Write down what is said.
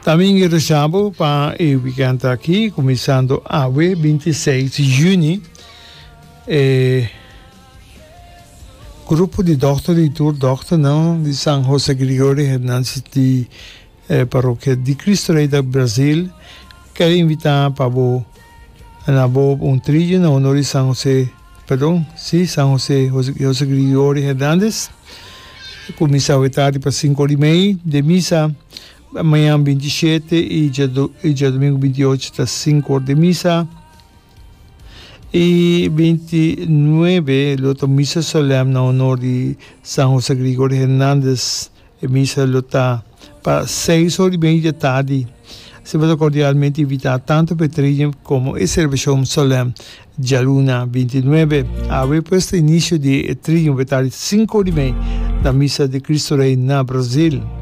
Tambe engresa bo pa e weekend aki, kuminsando awe 26 di juni, e grupo di dòkter di tur dòkternan di San Jose Gregorio Hernandez di Parokia di Cristo Rey da Brazil ker invita pa bo na bo un trillo na honor di San Jose Perdon, si, San Jose, Jose Gregorio Hernandez. Cuminsa awe tardi pa cinco ora y mei den misa. Mañan 27 y djadomingo 28 ta cinco ora den misa. Y 29 lo ta misa solem na honor di San Jose Gregorio Hernandez. E misa lo ta pa seis ora y media tardi. Asina bo ta cordialmente invita tanto pa e training como e celebracion solem djaluna 29. Awe pues ta inicio di e training bo tardi cinco ora y mei na misa di Cristo Rey na Brazil.